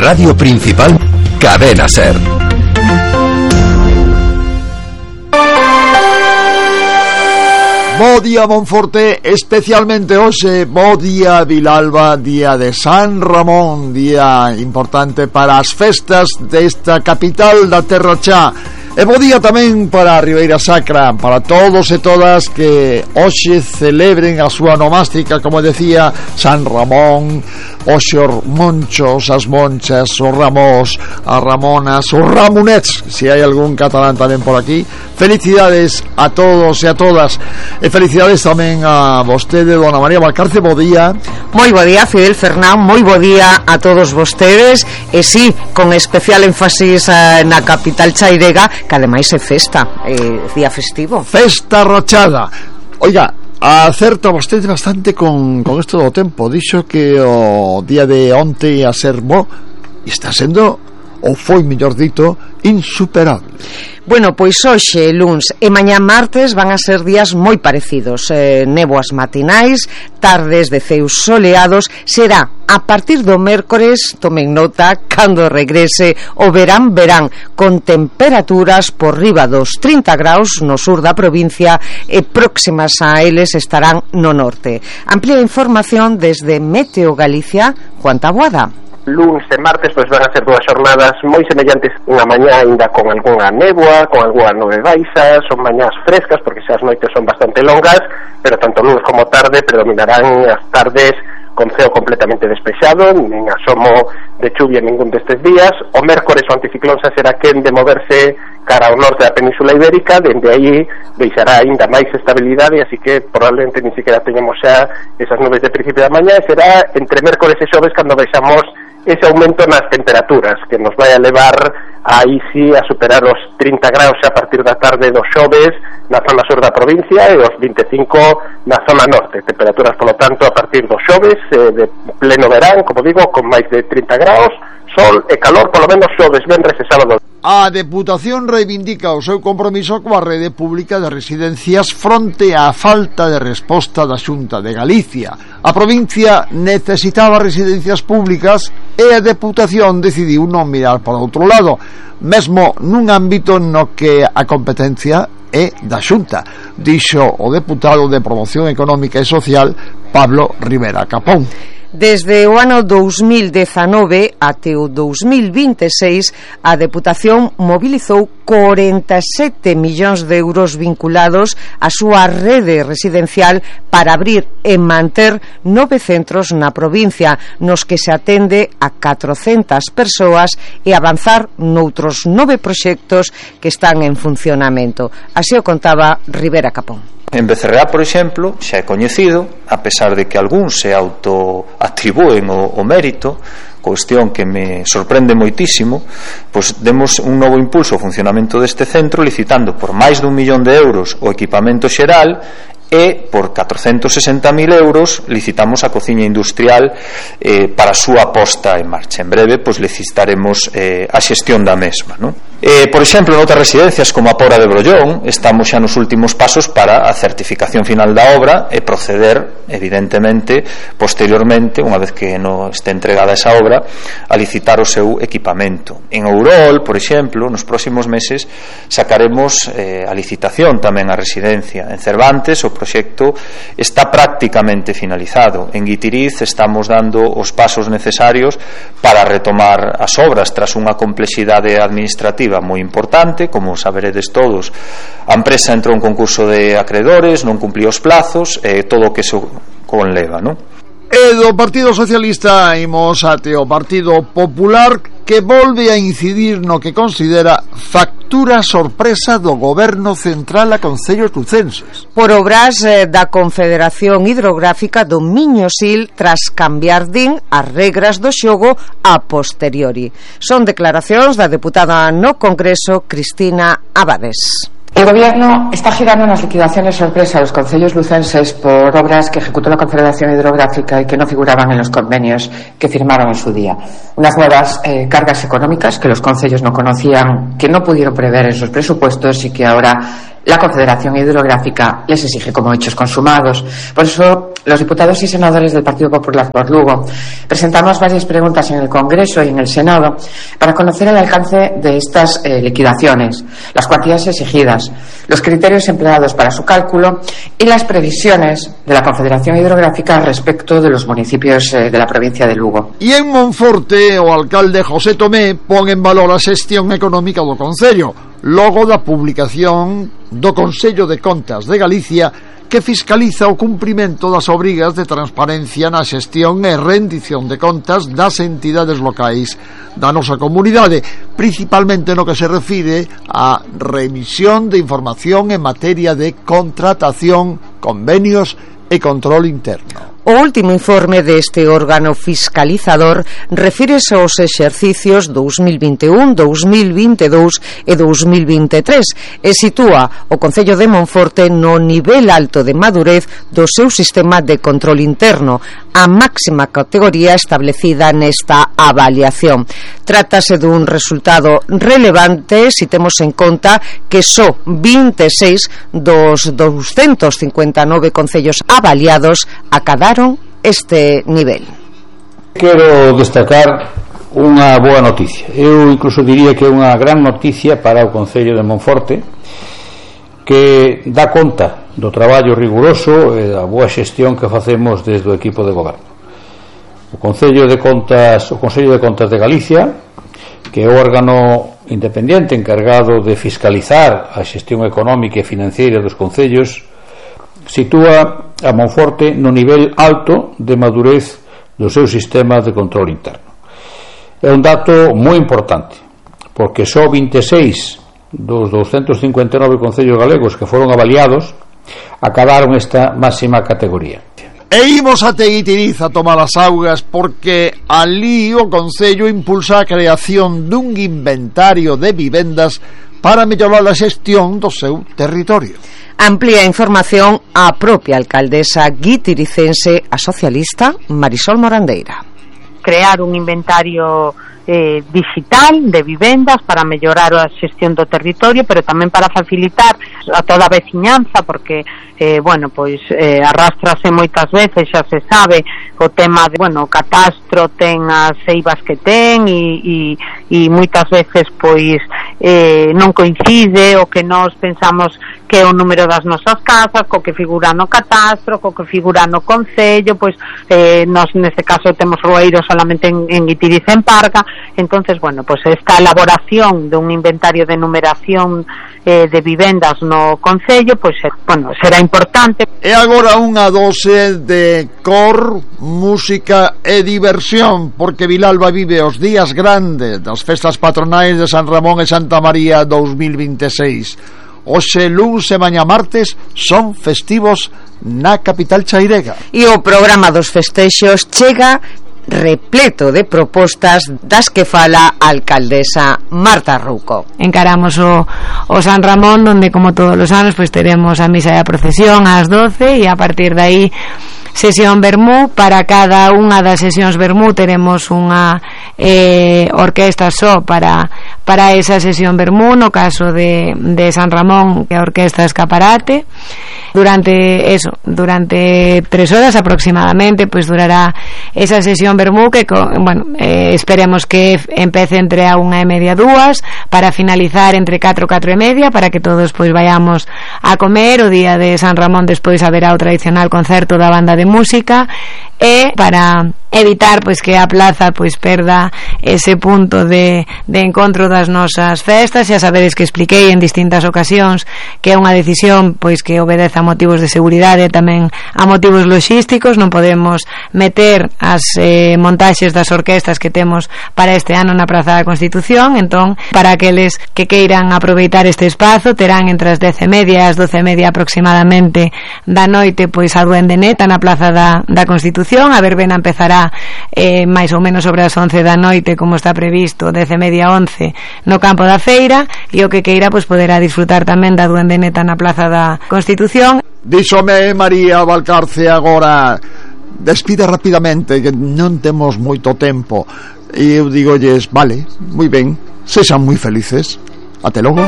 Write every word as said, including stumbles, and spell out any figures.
Radio Principal, Cadena Ser. Bo día Monforte, especialmente hoxe, bo día Vilalba, día de San Ramón, día importante para as festas desta capital da Terra Chá. E bo día tamén para a Ribeira Sacra, para todos e todas que hoxe celebren a súa nomástica, como decía, San Ramón, os monchos, as monchas, os ramos, as ramonas, os ramonets, se hai algún catalán tamén por aquí. Felicidades a todos e a todas, e felicidades tamén a vostede, dona María Valcarce. Bo día. Moi bo día, Fidel Fernán, moi bo día a todos vostedes, e sí, con especial énfasis eh, na capital chairega, que ademais é festa, é día festivo. Festa rachada. Oiga, acerta vostede bastante con, con isto do tempo. Dixo que o día de onte a ser bo, e está sendo, ou foi, mellor dito, insuperable. Bueno, pois hoxe, luns e mañá martes van a ser días moi parecidos, eh, néboas matinais, tardes de ceus soleados. Será a partir do mércores, tomen nota, cando regrese o verán verán, con temperaturas por riba dos trinta graus no sur da provincia e próximas a eles estarán no norte. Amplía información desde Meteo Galicia, Juan Taboada. Luns e martes pois van a ser dúas xornadas moi semellantes, unha mañá aínda con algunha néboa, con algunha nube baixa, son mañás frescas porque xa as noites son bastante longas, pero tanto luns como tarde predominarán as tardes con ceo completamente despexado, nin asomo de chuvia ningún destes días. O mércores o anticiclón xa será quen de moverse cara ao norte da Península Ibérica, dende aí deixará aínda máis estabilidade, así que probablemente ni siquiera teñamos xa esas nubes de principio da mañá, e será entre mércores e xoves cando vexamos ese aumento nas temperaturas que nos vai a levar aí sí a superar os trinta graus a partir da tarde dos xoves na zona sur da provincia e os vinte e cinco na zona norte. Temperaturas, polo tanto, a partir dos xoves eh, de pleno verán, como digo, con máis de trinta graus, sol e calor, polo menos xoves, venres e sábado. A Deputación reivindica o seu compromiso coa rede pública de residencias fronte á falta de resposta da Xunta de Galicia. A provincia necesitaba residencias públicas e a Deputación decidiu non mirar para outro lado, mesmo nun ámbito no que a competencia é da Xunta, dixo o deputado de Promoción Económica e Social, Pablo Rivera Capón. Desde o ano dous mil dezanove até o dous mil vinte e seis, a Deputación mobilizou corenta e sete millóns de euros vinculados á súa rede residencial para abrir e manter nove centros na provincia, nos que se atende a catrocentas persoas, e avanzar noutros nove proxectos que están en funcionamento. Así o contaba Rivera Capón. En Becerreá, por exemplo, xa é coñecido, a pesar de que algúns se autoatribúen o, o mérito, cuestión que me sorprende moitísimo, pois demos un novo impulso ao funcionamento deste centro, licitando por máis dun millón de euros o equipamento xeral, e por catrocentos e sesenta mil euros licitamos a cociña industrial eh, para a súa posta en marcha. En breve pois licitaremos eh, a xestión da mesma, non? Eh, por exemplo, en outras residencias como a Pora de Brollón estamos xa nos últimos pasos para a certificación final da obra e proceder, evidentemente, posteriormente, unha vez que non este entregada esa obra, a licitar o seu equipamento. En Ourol, por exemplo, nos próximos meses sacaremos eh, a licitación tamén a residencia. En Cervantes o proxecto está prácticamente finalizado. En Guitiriz estamos dando os pasos necesarios para retomar as obras tras unha complexidade administrativa moi importante. Como saberedes todos, a empresa entrou en concurso de acreedores, non cumpliu os plazos e todo o que se conleva, non? E do Partido Socialista imos ate o Partido Popular, que volve a incidir no que considera factura sorpresa do Goberno Central a concellos lucenses. Por obras eh, da Confederación Hidrográfica do Miño-Sil, tras cambiar, din, as regras do xogo a posteriori. Son declaracións da deputada no Congreso, Cristina Abades. El Gobierno está girando unas liquidaciones sorpresa a los concellos lucenses por obras que ejecutó la Confederación Hidrográfica y que no figuraban en los convenios que firmaron en su día. Unas nuevas eh, cargas económicas que los concellos no conocían, que no pudieron prever en sus presupuestos y que ahora la Confederación Hidrográfica les exige como hechos consumados. Por eso Los diputados y senadores del Partido Popular por Lugo presentamos varias preguntas en el Congreso y en el Senado para conocer el alcance de estas eh, liquidaciones, las cuantías exigidas, los criterios empleados para su cálculo y las previsiones de la Confederación Hidrográfica respecto de los municipios eh, de la provincia de Lugo. E en Monforte, o alcalde José Tomé pon en valor a xestión económica do Concello, logo da publicación do Consello de Contas de Galicia, que fiscaliza o cumprimento das obrigas de transparencia na xestión e rendición de contas das entidades locais da nosa comunidade, principalmente no que se refire á remisión de información en materia de contratación, convenios e control interno. O último informe deste órgano fiscalizador refírese aos exercicios dous mil vinte e un, dous mil vinte e dous e dous mil vinte e tres e sitúa o Concello de Monforte no nivel alto de madurez do seu sistema de control interno, a máxima categoría establecida nesta avaliación. Trátase dun resultado relevante se temos en conta que só vinte e seis dos doscientos cincuenta e nove concellos avaliados acadaron este nivel. Quero destacar unha boa noticia. Eu incluso diría que é unha gran noticia para o Concello de Monforte, que dá conta do traballo riguroso e da boa xestión que facemos desde o equipo de goberno. O Concello de Contas, o Consello de Contas de Galicia, que é o órgano independente encargado de fiscalizar a xestión económica e financeira dos concellos, sitúa a Monforte no nivel alto de madurez do seu sistema de control interno. É un dato moi importante, porque só vinte e seis dos doscientos cincuenta e nove concellos galegos que foron avaliados acadaron esta máxima categoría. E imos a Teguitiriz a tomar as augas, porque ali o Concello impulsa a creación dun inventario de vivendas para mellorar a xestión do seu territorio. Amplía información a propia alcaldesa guitiricense, a socialista Marisol Morandeira. Crear un inventario eh, digital de vivendas para mellorar a xestión do territorio, pero tamén para facilitar a toda a veciñanza, porque eh, bueno, pois eh, arrastrase moitas veces, xa se sabe, o tema de, bueno, o catastro ten as eivas que ten e, e, e moitas veces pois eh, non coincide o que nós pensamos que é o número das nosas casas co que figura no catastro, co que figura no concello, pois eh, nós neste caso temos Roeiro solamente en, en Guitiriz en Parga. Entonces, bueno, pues esta elaboración de un inventario de numeración eh, de vivendas no concello, pues bueno, será importante. E agora unha dose de cor, música e diversión, porque Vilalba vive os días grandes das festas patronais de San Ramón e Santa María dous mil vinte e seis. Hoxe, luns e mañá martes son festivos na capital chairega. E o programa dos festexos chega repleto de propostas das que fala a alcaldesa Marta Rouco. Encaramos o, o San Ramón, donde como todos os anos pues teremos a misa e a procesión ás doce e a partir de aí sesión vermú. Para cada unha das sesións vermú teremos unha eh, orquesta só para para esa sesión vermú. No caso de, de San Ramón, que a orquesta Escaparate, durante eso, durante tres horas aproximadamente, pues durará esa sesión vermú que, bueno, eh, esperemos que empece entre a unha e media, dúas, para finalizar entre catro, catro e media, para que todos pues vayamos a comer. O día de San Ramón despois haberá o tradicional concerto da banda de música, e para evitar pois que a plaza pois perda ese punto de, de encontro das nosas festas. Xa sabedes que expliquei en distintas ocasións que é unha decisión pois que obedece a motivos de seguridade e tamén a motivos logísticos. Non podemos meter as eh, montaxes das orquestas que temos para este ano na Praza da Constitución. Entón, para aqueles que queiran aproveitar este espazo, terán entre as dez e media e as doce e media aproximadamente da noite pois a Duende Neta na Praza da, da Constitución. A verbena empezará eh, máis ou menos sobre as once da noite, como está previsto, dez e media, once no campo da feira, e o que queira pois poderá disfrutar tamén da Duende Neta na Praza da Constitución. Díxome María Valcarce agora, despida rapidamente, que non temos moito tempo, e eu digolles, vale, moi ben, sexan moi felices, até logo.